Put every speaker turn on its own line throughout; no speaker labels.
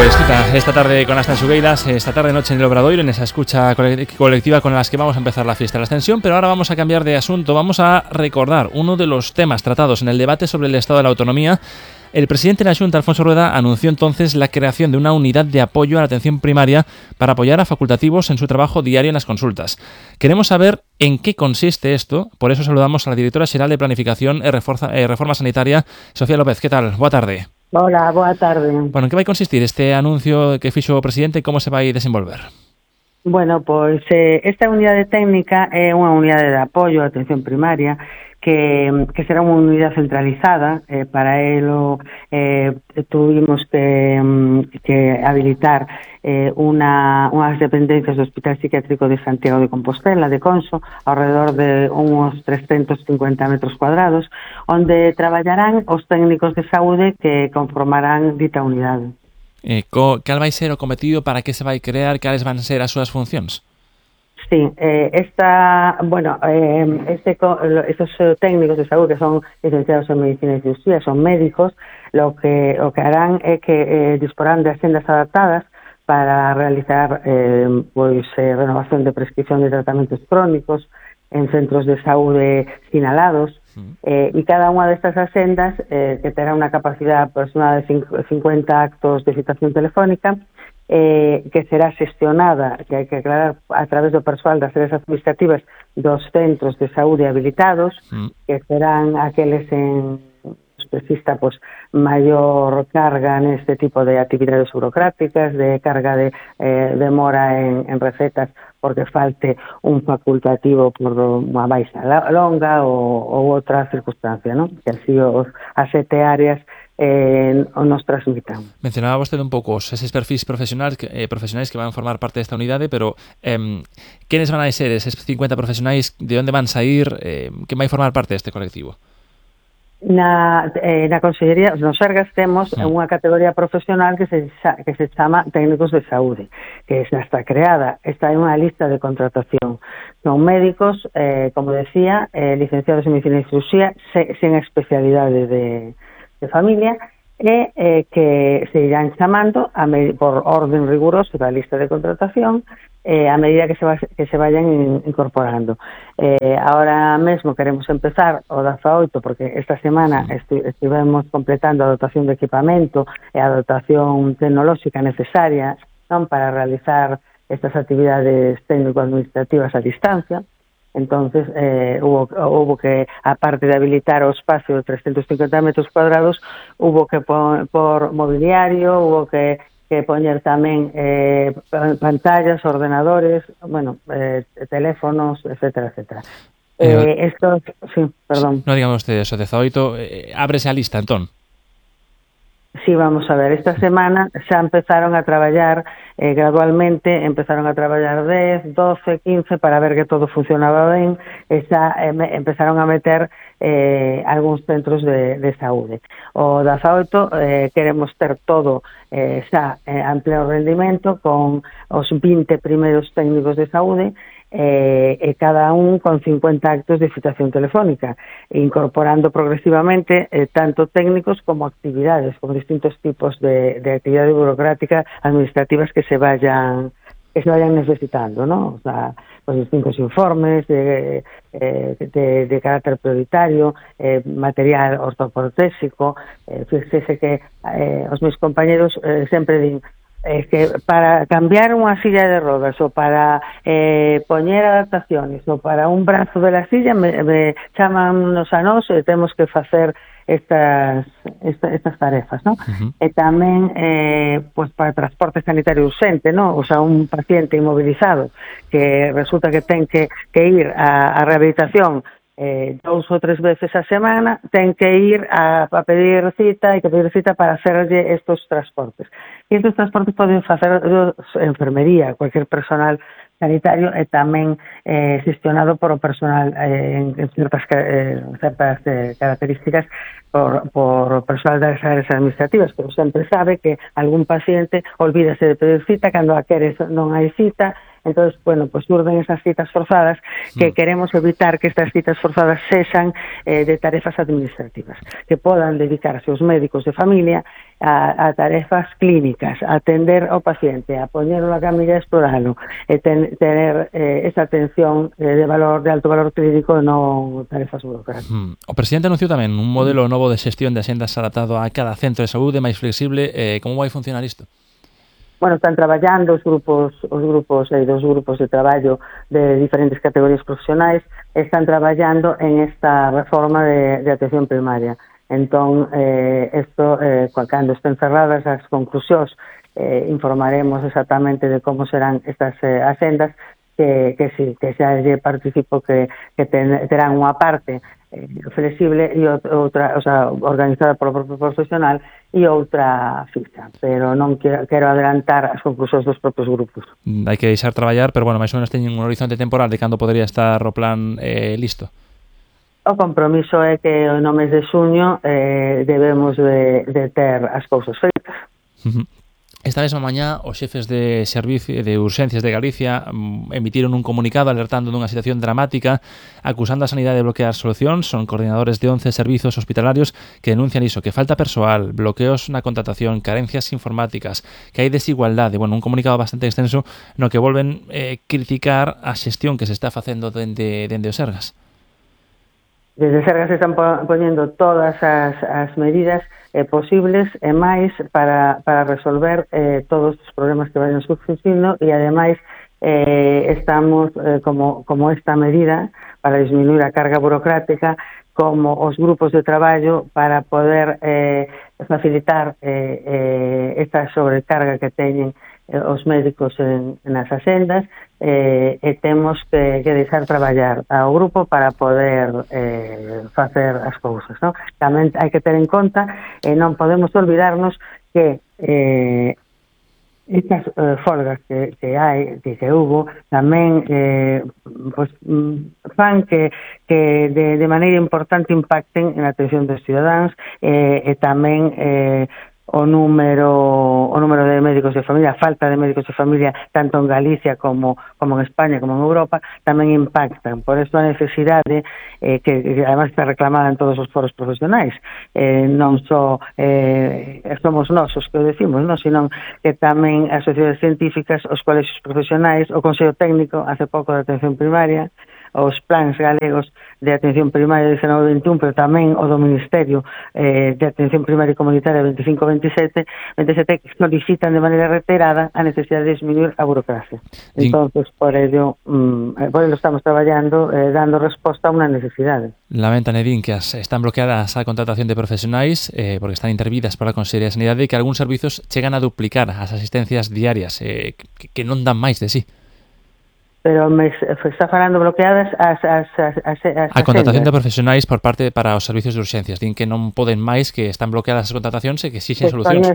Pues quita, esta tarde con las Tansugueiras, esta tarde-noche en el Obradoiro, en esa escucha colectiva con las que vamos a empezar la fiesta de la Ascensión, pero ahora vamos a cambiar de asunto, vamos a recordar uno de los temas tratados en el debate sobre el Estado de la Autonomía. El presidente de la Xunta, Alfonso Rueda, anunció entonces la creación de una unidad de apoyo a la atención primaria para apoyar a facultativos en su trabajo diario en las consultas. Queremos saber en qué consiste esto, por eso saludamos a la directora xeral de Planificación e Reforma Sanitaria, Sofía López. ¿Qué tal? Boa tarde.
Hola, boa tarde.
Bueno, en que vai consistir este anuncio que fixo o presidente e como se vai desenvolver?
Bueno, pois esta unidade técnica é unha unidade de apoio á atención primaria que será unha unidade centralizada. Para elo tuvimos que habilitar unhas dependencias do Hospital Psiquiátrico de Santiago de Compostela, de Conso, alrededor de uns 350 metros cuadrados, onde traballarán os técnicos de saúde que conformarán dita unidade.
Cal vai ser o cometido, para que se vai crear, cales van ser as súas funcións?
Sí, estos técnicos de saúde que son licenciados en medicina y cirugía, son médicos, lo que harán é que disporán de agendas adaptadas para realizar renovación de prescripción de tratamentos crónicos en centros de saúde sinalados, y cada unha destas agendas que terá unha capacidade aproximada de 50 actos de citación telefónica, que será xestionada, que hai que aclarar, a través do persoal das áreas administrativas dos centros de saúde habilitados, que serán aqueles en exista maior carga neste tipo de actividades burocráticas, de carga de demora en recetas porque falte un facultativo por unha baixa longa ou outra circunstancia, non? Que así as 7 áreas nos transmitan.
Mencionaba vostede un pouco eses perfis profesionais que van formar parte desta unidade, pero quenes van a ser eses 50 profesionais, de onde van sair, que vai formar parte deste colectivo?
Na Consellería, nos Sergas, temos unha categoría profesional que se chama técnicos de saúde, que xa está creada. Esta é unha lista de contratación. Son médicos, como decía, licenciados en medicina y cirugía, sen especialidade de familia, e que se irán chamando por orden riguroso da lista de contratación a medida que se vayan incorporando. Ahora mesmo queremos empezar o 18, porque esta semana estivemos completando a dotación de equipamento e a dotación tecnolóxica necesaria, non, para realizar estas actividades técnico-administrativas a distancia. Entonces hubo que, aparte de habilitar o espacio de 350 metros cuadrados, hubo que por mobiliario, hubo que poñer tamén pantallas, ordenadores, teléfonos, etcétera, etcétera.
Non digamos ustedes, o 18 ábrese a lista, entón.
Sí, vamos a ver, esta semana xa empezaron a traballar gradualmente, empezaron a traballar 10, 12, 15 para ver que todo funcionaba ben, e xa empezaron a meter algúns centros de saúde. O 18 queremos ter todo xa en pleno rendimento con os 20 primeiros técnicos de saúde, e cada un con 50 actos de citación telefónica, incorporando progresivamente tanto técnicos como actividades, como distintos tipos de actividade burocrática administrativas que se vayan necesitando, ¿no? O sea, pues distintos informes de carácter prioritario, material ortoprotésico. Fíjese que os meus compañeros sempre din que para cambiar unha silla de rodas ou para poñer adaptaciones ou para un brazo de la silla me chamannos a nós e temos que facer estas tarefas, ¿no? E tamén para transporte sanitario urxente, ¿no? O sea, un paciente inmobilizado que resulta que ten que ir a rehabilitación 2 ou 3 veces a semana, ten que ir a pedir cita, para hacerlle estos transportes. E estes transportes poden facer enfermería, cualquier personal sanitario, e tamén gestionado por o personal en certas características por personal das áreas administrativas, pero sempre sabe que algún paciente olvídase de pedir cita, cando a queres non hai cita. Entonces, pues surden esas citas forzadas que queremos evitar que estas citas forzadas sexan de tarefas administrativas, que podan dedicarse os médicos de familia a tarefas clínicas, a atender ao paciente, a poñerlo na camilla e exploralo, e tener esa atención de alto valor clínico e non tarefas burocráticas.
O presidente anunciou tamén un modelo novo de xestión de axendas adaptado a cada centro de saúde, máis flexible. Como vai funcionar isto?
Bueno, están traballando os grupos de traballo de diferentes categorías profesionais, están traballando en esta reforma de atención primaria. Entón, cando estén cerradas as conclusións, informaremos exactamente de como serán estas axendas, que xa lle participo que terán unha parte flexible e outra, organizada polo propio profesional, e outra fixa, pero non quero adelantar as conclusións dos propios grupos.
Hai que deixar traballar, pero bueno, máis ou menos teñen un horizonte temporal de cando podría estar o plan listo.
O compromiso é que no mes de xuño debemos de ter as cousas feitas.
Esta mesma mañá, os xefes de servicio de urxencias de Galicia emitiron un comunicado alertando dunha situación dramática, acusando a sanidade de bloquear solucións. Son coordinadores de 11 servizos hospitalarios que denuncian iso, que falta persoal, bloqueos na contratación, carencias informáticas, que hai desigualdade. Bueno, un comunicado bastante extenso no que volven criticar a xestión que se está facendo dende o Sergas.
Desde Sergas se están poñendo todas as medidas posibles e máis para resolver todos os problemas que vayan surgindo, e ademais estamos como esta medida para disminuir a carga burocrática, como os grupos de traballo para poder facilitar esta sobrecarga que teñen os médicos nas axendas, e temos que deixar traballar ao grupo para poder facer as cousas, non? Tamén hai que ter en conta, non podemos olvidarnos que estas folgas que hubo tamén fan que de maneira importante impacten na atención dos cidadáns, e tamén o número de médicos de familia, a falta de médicos de familia tanto en Galicia como en España como en Europa, tamén impactan. Por isto a necesidade que además está reclamada en todos os foros profesionais, non só somos nós os que o decimos, non, sino que tamén as sociedades científicas, os colexios profesionais, o Consello Técnico hace pouco de atención primaria, os plans galegos de atención primaria 19-21, pero tamén o do Ministerio de Atención Primaria e Comunitaria 25-27, que solicitan de maneira reiterada a necesidade de disminuir a burocracia. Entonces, por ello estamos traballando, dando resposta a unha necesidade.
Lamentan, Edín, que están bloqueadas a contratación de profesionais porque están intervidas pola Consellería de Sanidade, e que algúns servizos chegan a duplicar as asistencias diarias, que non dan máis de sí.
Pero me está falando bloqueadas as
a contratación de profesionais por parte para os servicios de urxencias. Din que non poden máis, que están bloqueadas as contratacións e que exixen solucións.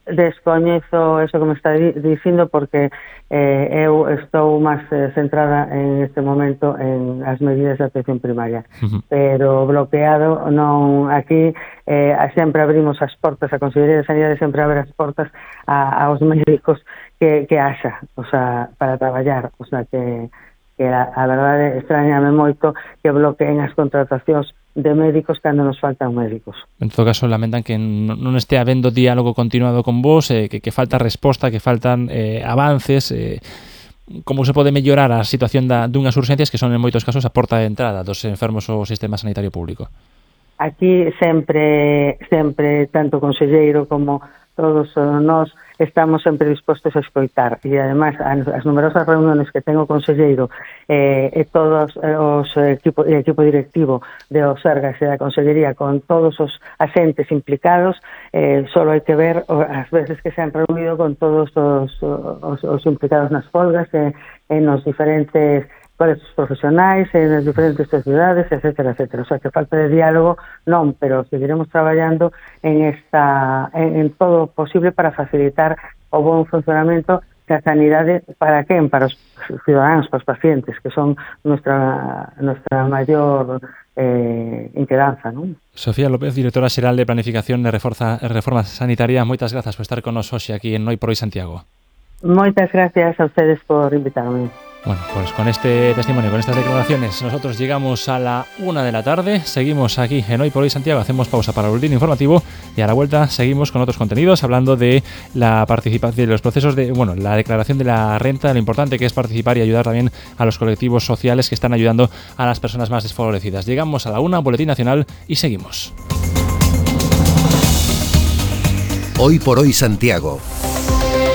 Descoñezo eso que me está dicindo, porque eu estou máis centrada en este momento en as medidas de atención primaria. Pero bloqueado non. Aquí sempre abrimos as portas, a Consellería de Sanidade sempre abre as portas aos médicos que haxa, para traballar, que a verdade extrañame moito que bloqueen as contratacións de médicos cando nos faltan médicos.
En todo caso, lamentan que non este habendo diálogo continuado con vos, que falta resposta, que faltan avances, como se pode mellorar a situación dunhas urxencias que son en moitos casos a porta de entrada dos enfermos ao sistema sanitario público.
Aquí sempre tanto o conselleiro como todos nós estamos sempre dispostos a escoitar, e ademais as numerosas reuniones que ten o conselleiro e todos o equipo directivo de o Sergas e da Consellería con todos os asentes implicados, só hai que ver as veces que se han reunido con todos os implicados nas folgas e nos diferentes colexios profesionais, nas diferentes sociedades, etcétera, etcétera. O sea, que falta de diálogo non, pero seguiremos traballando en todo o posible para facilitar o bon funcionamento da sanidade. Para quen? Para os cidadáns, para os pacientes, que son nuestra maior inquedanza, non?
Sofía López, directora xeral de Planificación e Reforma Sanitaria, moitas grazas por estar con nos hoxe aquí en Noi por Hoy Santiago.
Moitas gracias a ustedes por invitarme.
Bueno, pues con este testimonio, con estas declaraciones, nosotros llegamos a la 1 de la tarde. Seguimos aquí en Hoy por Hoy Santiago, hacemos pausa para el boletín informativo y a la vuelta seguimos con otros contenidos hablando de la participación, de los procesos de, la declaración de la renta, de lo importante que es participar y ayudar también a los colectivos sociales que están ayudando a las personas más desfavorecidas. Llegamos a la 1, boletín nacional y seguimos.
Hoy por Hoy Santiago.